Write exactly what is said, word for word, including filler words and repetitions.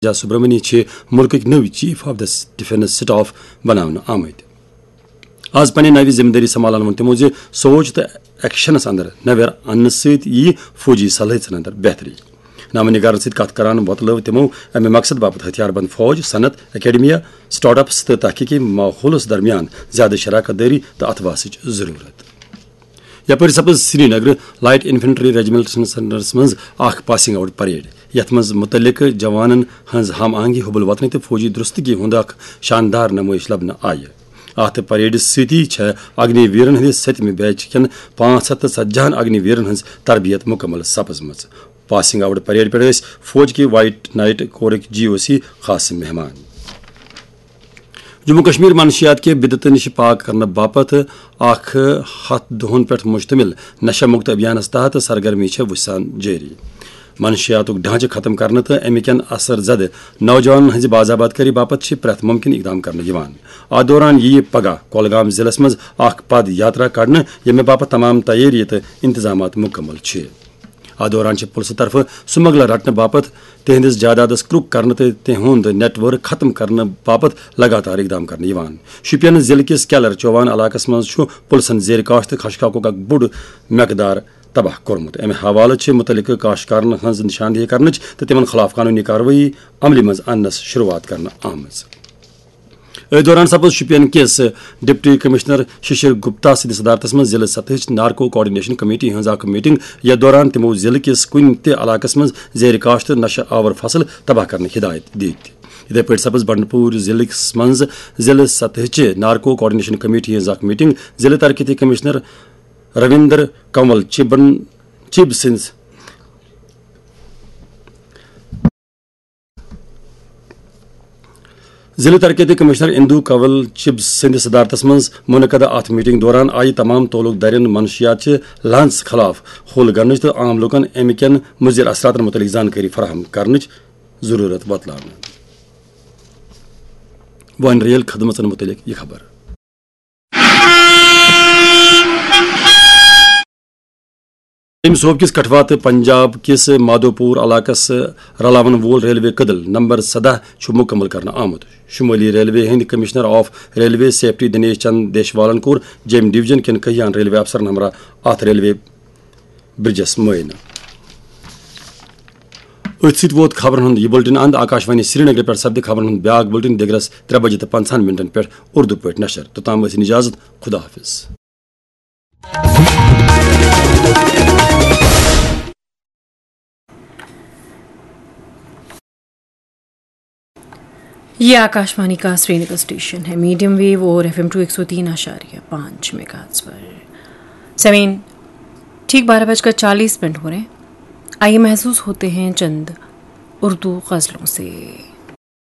راجا سبرمنی چھِ مُلکٕکۍ نٔوۍ Chief of the Defence Staff بناونہٕ آمٕتۍ۔ آز پننہِ نوِ ذمہٕ دٲری سنبھالان ووٚن تِمو زِ سوچ تہٕ ایکشنس اندر نویر اننہٕ سۭتۍ ییہِ فوجی صلٲحیژن اندر بہتری۔ نامہ نگارن سۭتۍ کتھ کران وۄتلٲو تِمو امہِ مقصد باپتھ ہتھیار بند فوج، صنعت، اکیڈمیا، سٹارٹ اپس تہٕ تحقیقی ماحولس درمیان زیادٕ شراکت دٲری تہٕ اتھواسٕچ ضرورت۔ یپٲرۍ سپز سرینگر لائٹ انفنٹری ریجمنٹ سینٹرس منٛز اکھ پاسنگ آؤٹ پریڈ، یتھ منٛز متعلقہٕ جوانن ہٕنٛز ہم آہنگی، حب الوطنی تہٕ فوجی درستگی ہُنٛد اکھ شاندار نمٲیش لبنہٕ آیہِ۔ اتھ پریڈ سۭتی چھےٚ اگنی ویرن ہٕنٛدِ ستمہِ بیچ کٮ۪ن پانٛژھ ہتھ تہٕ ژتجی ہن اگنی ویرن ہٕنٛز تربیت مکمل سپزمٕژ۔ پاسنگ آؤٹ پریڈ پٮ۪ٹھ ٲسۍ فوج کہِ وائٹ نائٹ کورٕکۍ جی او سی خاص مہمان۔ جموں کشمیر منشیات کہِ بدعتہٕ نِش پاک کرنہٕ باپتھ اکھ ہتھ دۄہن پٮ۪ٹھ مشتمل نشہ مکت ابھیانس تحت سرگرمی چھےٚ وُسان جٲری۔ منشیاتُک ڈھانچہٕ ختم کرنہٕ تہٕ امہِ کٮ۪ن اثر زدٕ نوجوانن ہٕنٛزِ باضابطگی باپتھ چھِ پرٛٮ۪تھ ممکن اقدام کرنہٕ یِوان۔ اتھ دوران یِیہِ پگاہ کولگام ضلعس منٛز اکھ پد یاترا کڑنہٕ، ییٚمہِ باپتھ تمام تیٲری تہٕ انتظامات مکمل چھِ۔ اتھ دوران چھِ پُلسہٕ طرفہٕ سمگلر رٹنہٕ باپتھ، تِہنٛدِس جائیدادس کرک کرنہٕ تہٕ تِہُنٛد نیٹ ورک ختم کرنہٕ باپتھ لگاتار اقدام کرنہٕ یِوان۔ شوپین ضلعہٕ کِس کیلر چوان علاقس منٛز چھُ پُلسن زیر کاشت خشکاکُک اکھ بوٚڑ مقدار تباہ کوٚرمُت۔ امہِ حوالہٕ چھِ متعلقہٕ کاشتکارن ہٕنٛز نشاندہی کرنٕچ تہٕ تِمن خلاف قانونی کاروٲیی عملہِ منٛز اننس شروعات کرنہٕ آمٕژ۔ أتھۍ دوران سپز شوپین کِس ڈپٹی کمشنر ششر گپتا سٕنٛدِ صدارتس منٛز ضلعہٕ سطحٕچ نارکو کوآرڈینیشن کمیٹی ہٕنٛز اکھ میٹنگ، یتھ دوران تِمو ضلعہٕ کِس کُنہِ تہِ علاقس منٛز زیر کاشت نشہٕ آور فصل تباہ کرنٕچ ہدایت دِتۍ۔ یِتھے پٲٹھۍ سپز بنڈپور ضلعس منٛز ضلعہٕ سطحٕچہِ نارکو کوآرڈینیشن کمیٹی ہٕنٛز اکھ میٹنگ ضلعہٕ ترقیتی کمشنر رویندر کنول چبن چب سٕنٛز ضلع ترقیتی کمشنر اندو کنول چب سٕنٛدِ صدارتس منٛز منعقدہ اتھ میٹنگ دوران آیہِ تمام تعلق دارین منشیات چہِ لانس خلاف حل کرنٕچ تہٕ عام لوٗکن امہِ کٮ۪ن مُضر اثراتن مُتعلق زانکٲری فراہم کرنٕچ ضروٗرت وۄتلاونہٕ۔ وۄنۍ ریل خدمژن مُتعلق یہِ خبر۔ امہِ صوبہٕ کِس کٹھوا تہٕ پنجاب کِس مادھوپور علاقس رلاون وول ریلوے کدل نمبر سداہ چھُ مُکمل کرنہٕ آمُت۔ شمٲلی ریلوے ہٕنٛدۍ commissioner of railway safety Dinesh Chand دیشوالن کوٚر جیمۍ ڈویژن کٮ۪ن کٔہیاہن ریلوے افسرن ہمراہ اتھ ریلوے برجس معائنہٕ۔ أتھۍ سۭتۍ ووت خبرن ہُنٛد یہِ بُلٹن اند۔ آکاشوانی سرینگر پٮ۪ٹھ سپدِ خبرن ہُنٛد بیاکھ بُلٹن دِگرس ترٛےٚ بجے تہٕ پنٛژاہن منٹن پٮ۪ٹھ اردو پٲٹھۍ نشر۔ توٚتام ٲسِن اجازت، خدا حافظ۔ ये आकाशवाणी का श्रीनगर स्टेशन है। मीडियम वेव और एफ एम टू एक सौ तीन आशार्य पाँच मेगाहर्ट्ज पर। समीन, ठीक बारह बजकर चालीस मिनट हो रहे हैं। आइए, महसूस होते हैं चंद उर्दू गज़लों से।